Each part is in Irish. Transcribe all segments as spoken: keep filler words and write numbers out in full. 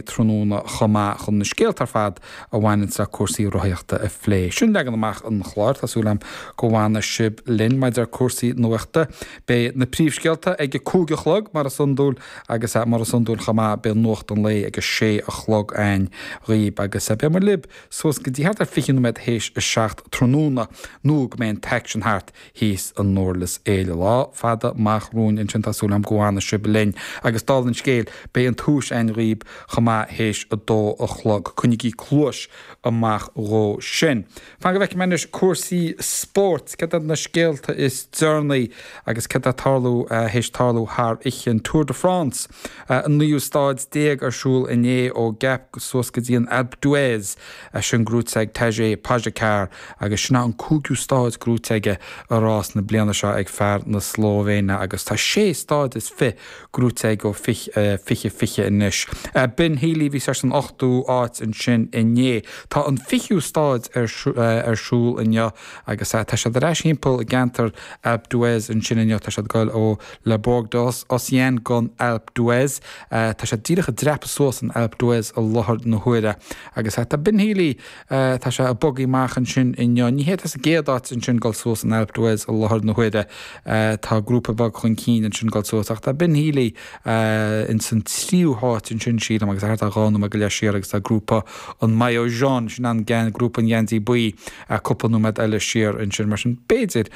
tráthnóna chomh maith chun na scéalta ar fad a bhaineann le cúrsaí rothaíochta a phlé. Sin leagan amach an chláir tá súil agam go bhfanfaidh sibh linn maidir le cúrsaí nuachta. Beidh na príomhscéalta ag a cúig a chlog mar is iondúil agus mar is iondúil chomh maith beidh nuacht an lae ag a sé a chlog againn dhaoibh agus beidh muid libh suas go dtí thart ar fiche nóiméad théis a seacht tráthnóna nó go mbeidh an t-aicsean thart thíos i nDurlas Éile. Lá fada amach romhainn ansin tá súil agam go bhfanfaidh sibh linn agus dála an scéil beidh an tomhas againn dhaoibh chomh maith théis a dó a chlog. Coinnigí cluas amach dhó sin. Fan go bhfeicfidh mé anois cúrsaí spóirt, cad iad na scéalta is deireanaí agus cad tá tarlú théis tarlú thar oíche an Tour de France. An naoú stáid déag ar siúl inné ó Gap suas go dtí an Alpe d'Huez sin gnóite ag Tadej Pogačar agus sin an cúigiú stáid gnóite aige i rás na bliana seo ag fear na Slóivéine agus tá sé stáid is fiche gnóite aige ó fiche fiche anois. Ben Healy bhí sé san ochtú áit ansin inné. Tá an fichiú stáid ar ar siúl inniu agus tá siad ar ais timpeall i gceantar Alpe d'Huez ansin inniu tá siad ag goil ó Le Bourg d'Ossian gon Alpe d'Huez. Tá siad díreach ag dreapadh suas an Alpe d'Huez i láthair na huaire agus tá Ben Healy tá sé ag bogadh amach ansin inniu. Ní hé tá sa gcéad áit ansin goil suas an Alpe d'Huez i láthair na huaire tá grúpa beag chun cinn ansin goil suas ach tá Ben Healy in san tríú háit ansin sílim agus thart ar dhá nóiméad go leith siar agus tá grúpa an maillot jaune sin an gan grúpa an gheansaí buí cúpla nóiméad eile siar ansin mar sin b'fhéidir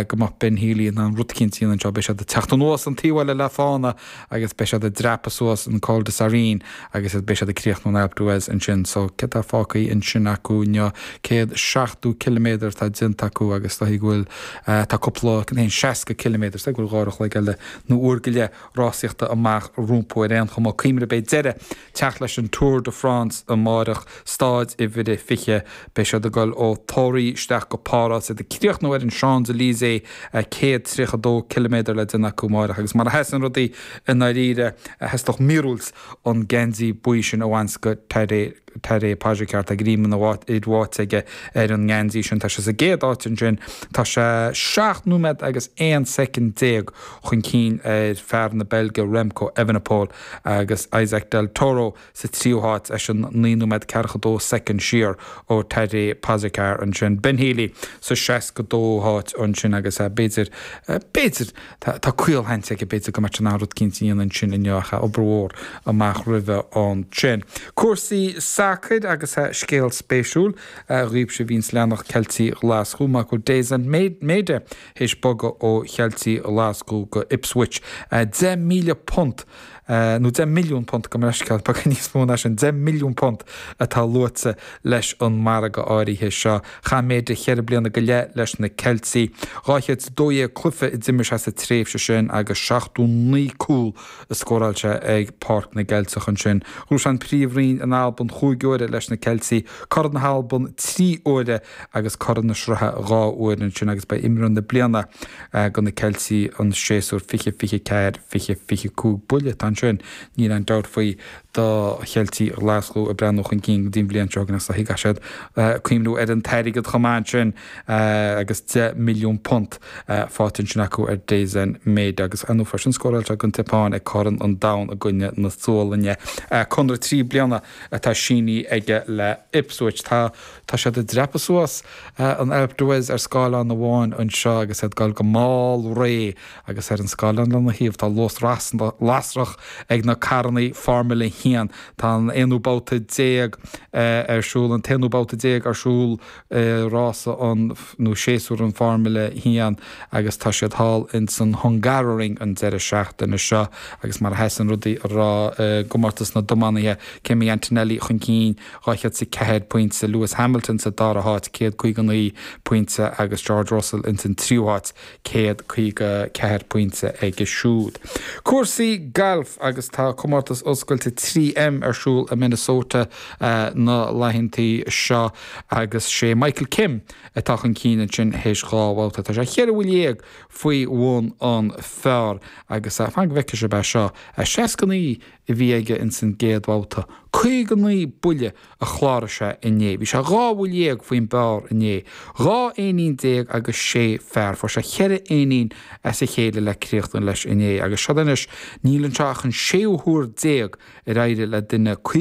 go mbeadh Ben Healy in ann rud eicínt a dhéanamh anseo beidh siad ag teacht anuas an taobh eile le fána agus beidh siad ag dreapadh suas an Col de Sarine agus beidh siad ag críochnú an Alpe d'Huez ansin so céard atá fágtha ansin acu inniu céad seachtó ciliméadar atá déanta acu agus tá go bhfuil tá cúpla haon seasca ciliméadar go bhfuil dhá uair a chloig eile nó uair go leith rásaíochta amach rompu ar aon chuma cuimhnigh beidh deireadh teacht leis an Tour de France amárach stáid uimhir a fiche beidh siad ag dul ó Thoraí isteach go Páras iad ag críochnú ar an Champs-Élysées céad tríocha dó ciliméadar le déanamh acu amárach agus mar a sheasann rudaí i ndáiríre theastódh míorúilt an geansaí buí sin a bhaint go Tadej Tadej Pogačar tá greim ina bháite aige ar an ngeansaí sin tá sé sa gcéad áit ansin tá sé seacht nóiméad agus aon soicind déag chun cinn ar fear na Beilge Remco Evenepoel agus Isaac del Toro sa tríú háit eisean naoi nóiméad ceathracha dó soicind siar ó Tadej Pogačar ansin Ben Healy sa seasca dóú háit ansin agus b'fhéidir b'fhéidir tá caolsheans aige b'fhéidir go mbeadh sé in ann rud eicínt a dhéanamh ansin inniu ach obair mhór amach roimhe ansin. Cúrsaí sacair agus scéal spéisiúil dhaoibhse a bhíonns ag leanacht Ceiltigh Ghlaschú mar go bhfuil Daizen Maeda théis bogadh ó Cheiltigh Ghlaschú go Ipswich. Deich míle punt nó deich milliún punt gabh mo leithscéal beagán níos mó ná sin deich milliún punt atá luaite leis an margadh áirithe seo. Chaith Maeda cheithre bliana go leith leis na Ceiltigh. Dhá chéad is a dó dhéag cluiche a d'imir sé sa tréimhse sin agus seachtó naoi cúl a scóráil sé ag Páirc na gCeilteach ansin. Ghnóthaigh sé an Príomhroinn in Albain chúig huaire leis na Ceiltigh, Corn na hAlban trí huaire agus Corn na Sraithe dhá uair ansin agus ba é imreoir na bliana go na Ceiltigh an séasúr fiche fiche ceathair fiche fiche cúig buille atá ansin níl aon dabht faoi do Cheiltigh Ghlaschú ag breathnú chun cinn go dtí an bhliain seo chugainn agus caithfidh siad cuimhniú ar an t-airgead chomh maith ansin agus deich milliún punt faighte ansin acu ar Daizen Maeda agus ar ndóigh freisin scóráil sé don tSeapáin ag Corn an Domhain i gcoinne na Sualainne. Conradh trí bliana atá sínithe aige le Ipswich. Tá tá siad ag dreapadh suas an Alpe d'Huez ar scáileán amháin anseo agus iad ag dul go mall réidh agus ar an scáileán lena thaobh tá luas lasrach ag na carrannaí Formula a haon. Tá an aonú babhta déag ar siúl, an t-aonú babhta déag ar siúl i rása an nó séasúr an Formula a haon agus tá siad thall ins an Hungaroring an deireadh seachtaine seo agus mar a sheasann rudaí a rá i gcomórtas na dtiománaithe Kimi Antonelli chun cinn dhá chéad is a ceathair pointe, Lewis Hamilton sa dara háit céad caoga naoi pointe agus George Russell ins an tríú háit céad caoga ceathair pointe aige siúd. Cúrsaí gailf agus tá comórtas oscailte trí M ar siúl i Minnesota na laethantaí seo agus sé Michael Kim atá chun cinn ansin théis dhá bhabhta. Tá sé cheithre bhuille dhéag faoi bhun an phar agus fan go bhfeicfidh sibh é seo. Seasca naoi a bhí aige ins an gcéad bhabhta. Caoga naoi buille a chláraigh sé inné. Bhí sé dhá bhuille dhéag faoin bpar inné. Dhá éinín déag agus sé fear. Fuair sé cheithre éinín as a chéile le críochnú leis inné. Agus seo anois níl anseo ach an séú huair déag ar éirigh le duine caoga